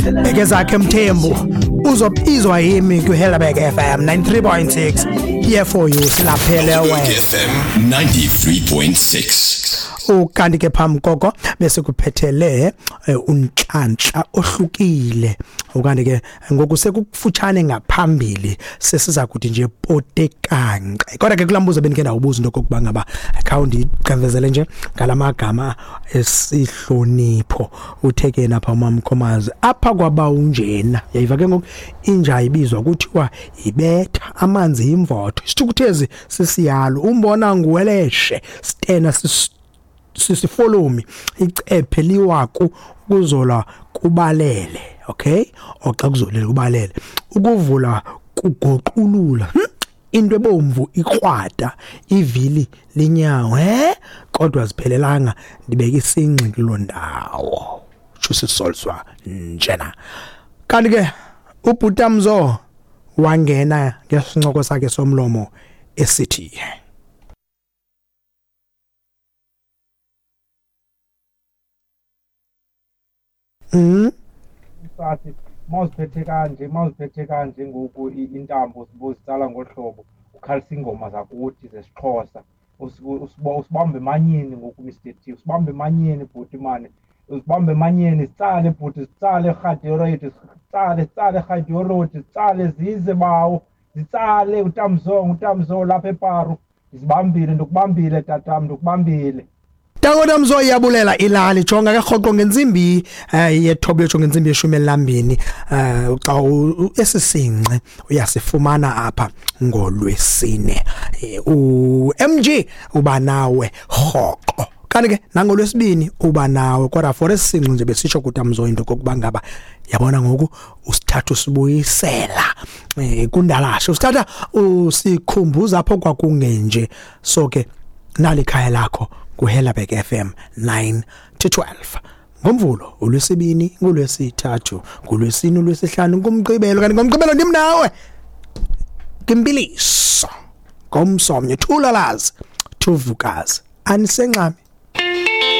Bekezakhe Mthembu uzobizwa yimi kwiHelberg FM 93.6 here for you silaphele wena. FM 93.6. Ukanti ke phambi koko bese kuphethele unhlanhla ohlukile. Ukanti ke ngoku sekukufutshane ngaphambili sesiza kuthi nje potekanqe. Kodwa ke kulambuzo bendike ndawubuza into okokuba ngaba khawundiqevezele nje ngalamagama esihlonipho. Uthe ke napha uMamkhomazi apha kwaba unjena, yayiva ke ngoku inja ibizwa kuthiwa ibetha amanzi imvotho, isithukuthezi sisiyalo, umbona nguweleshe, stena sisifolomi, icephe liwaku, ukuzola kubalele. Okay, oxa kuzolile kubalele, ukuvula kugoqulula, into ebomvu ikrwada, ivili linyawo, kodwa ziphelelanga, ndibeka isingxi kuloo ndawo. Shusisolswa njena. Kanti ke uBhutamzo wangena ngesincoko sakhe somlomo esithi Sathi mawuziphethe kanje, mawuziphethe kanje ngoku intambo zibozitsala ngohlobo, ukhalisa ingoma zakuthi zesiXhosa, usibambe emanyeni ngoku Mr T, usibambe emanyeni bhuti mane, usibambe emanyeni, sitsale bhuti, sitsale rhadiyorodi, sitsale, sitsale rhadiyorodi, sitsale zize bawo, zitsale uTamzongo, uTamzongo lapha eParu, ndizibambile, ndikubambile tatam, ndikubambile. Tango Mzo iyabulela ilali. Jonga ke rhoqo ngentsimbi yethoba yotsho ngentsimbi yeshumi elambini, xa esisinxe uyasifumana apha ngolwesine. uMG uba nawe rhoqo. Kanti ke nangolwesibini uba nawe, kodwa for esisinxe nje besitsho kuTamzo into kokuba ngaba yabona ngoku usithatha usibuyisela kundalashe, usithatha usikhumbuza apho kwakungenje. So ke nali ikhaya lakho kuHelberg FM 9 to 12 ngomvulo, ulwesibini, ngolwesithathu, ngolwesine, ulwesihlanu, ngomgqibelo. Kanti ngomgqibelo ndim nawe kimpiliso ngomsomnye thulalazi thuvukazi anisenxami.